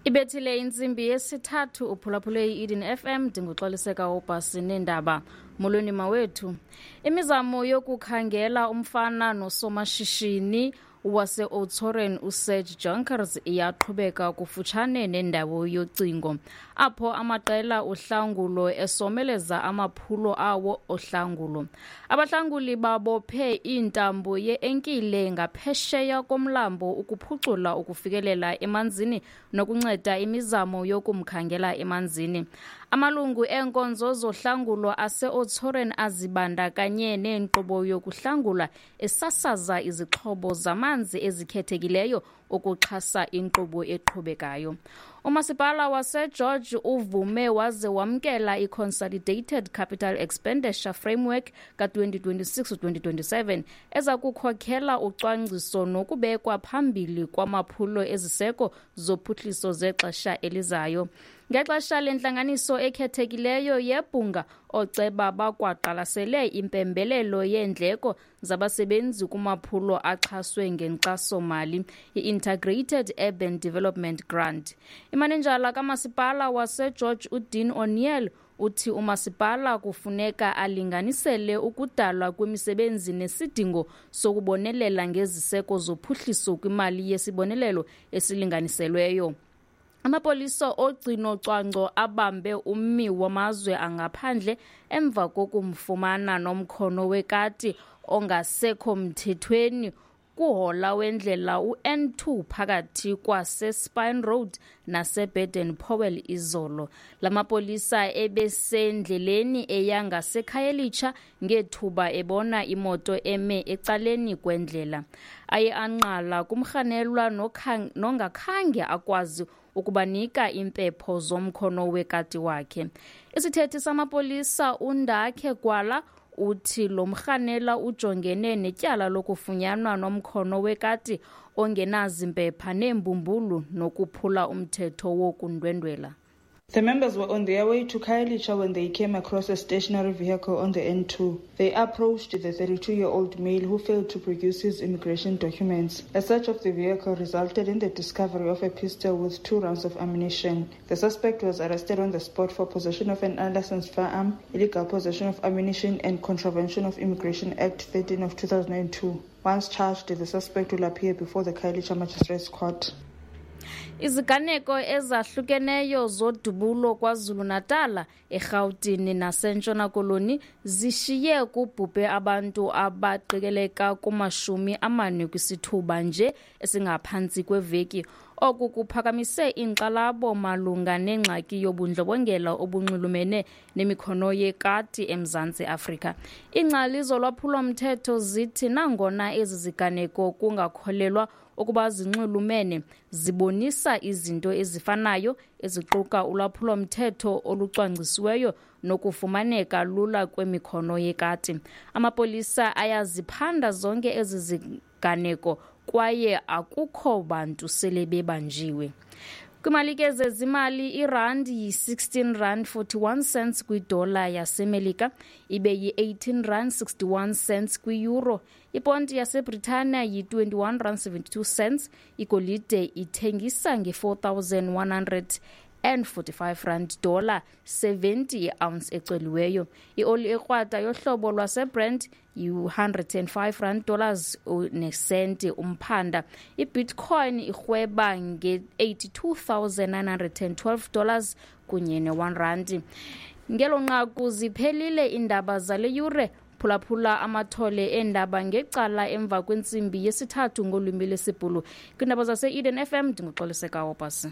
Ibethile intsimbi yesithathu, uphulaphule i-Eden FM. Ndinguxoliseka ubhasi neendaba. Molweni mawethu. Imizamo yokukhangela umfana nosomashishini wase-Oudtshoorn uSerge Jonkers iyaqhubeka kufutshane nendawo yocingo, apho amaqela ohlangulo esomeleza amaphulo awo ohlangulo. Abahlanguli babophe iintambo ye-enkile ngaphesheya komlambo ukuphucula ukufikelela emanzini nokunceda imizamo yokumkhangela emanzini. Amalungu eenkonzo zohlangulo ase-Oudtshoorn azibandakanye nenkqubo yokuhlangula esasaza izixhobo zamanzi ezikhethekileyo ukuxhasa inkqubo eqhubekayo. Umasipala waseGeorge uvume waze wamkela i-Consolidated Capital Expenditure Framework ka-2026-2027 eza kukhokhela ucwangciso nokubekwa phambili kwamaphulo eziseko zophuhliso zexesha elizayo. Ngexesha lentlanganiso ekhethekileyo yebhunga, ooceba bakwaqalasele impembelelo yeendleko zabasebenzi kumaphulo axhaswe ngenkxaso-mali i-Integrated Urban Development Grant. Imanejala kamasipala waseGeorge uDean O'Neill uthi umasipala kufuneka alinganisele ukudalwa kwemisebenzi nesidingo sokubonelela ngeziseko zophuhliso kwimali yesibonelelo esilinganiselweyo. Amapolisa ogcino cwangco abambe ummi wamazwe angaphandle emva kokumfumana nomkhono wekati ongasekho mthethweni kuhola wendlela u-N2 phakathi kwaseSpine Road naseBaden Powell izolo. La mapolisa ebesendleleni eya ngaseKhayelitsha ngethuba ebona imoto eme ecaleni kwendlela. Aye anqala kumrhanelwa nongakhange akwazi ukubanika impepho zomkhono wekati wakhe. Isithethi samapolisa uNdakhe Gwala uthi lo mrhanela ujongene netyala lokufunyanwa nomkhono wekati ongenazimpepha neembumbulu nokuphula umthetho wokundwendwela. The members were on their way to Khayelitsha when they came across a stationary vehicle on the N2. They approached the 32-year-old male who failed to produce his immigration documents. A search of the vehicle resulted in the discovery of a pistol with 2 rounds of ammunition. The suspect was arrested on the spot for possession of an unlicensed firearm, illegal possession of ammunition, and contravention of Immigration Act 13 of 2002. Once charged, the suspect will appear before the Khayelitsha Magistrates Court. Iziganeko ezahlukeneyo zodubulo KwaZulu-Natal, eRhawutini naseNtshona Koloni zishiye kubhubhe abantu abaqikeleka kuma-40 kwisithuba nje esingaphantsi kweveki. Oku kuphakamise inkxalabo malunga nengxaki yobundlobongela obunxulumene nemikhono yekati eMzantsi Afrika. Iingcali zolwaphulo-mthetho zithi nangona ezi ziganeko kungakholelwa ukuba zinxulumene, zibonisa izinto ezifanayo eziquka ulwaphulo-mthetho olucwangcisiweyo nokufumaneka lula kwemikhono yekati. Amapolisa ayaziphanda zonke ezi ziganeko kwaye akukho bantu sele bebanjiwe. Kwimalike zezimali, irandi yi-16 rand 41 cents kwidola yaseMelika, ibe yi-18 rand 61 cents kwi-euro. Iponti yaseBritania yi-21 rand 72 cents. Igolide ithengisa nge-4145 rand dollar 70 i-ounce ecoliweyo. Ioli ekrwada yohlobo lwaseBrent yi-105 rand dollars nesenti umphanda. Ibitcoin irhweba nge-$82,912 dollars kunye ne-1 rand. Ngelo nqaku ziphelile iindaba zale yure. Phulaphula amathole eendaba ngecala emva kwentsimbi yesithathu ngolwimi lwesiBhulu. Kwiindaba zase-Eden FM, ndinguxoliseka Wopasi.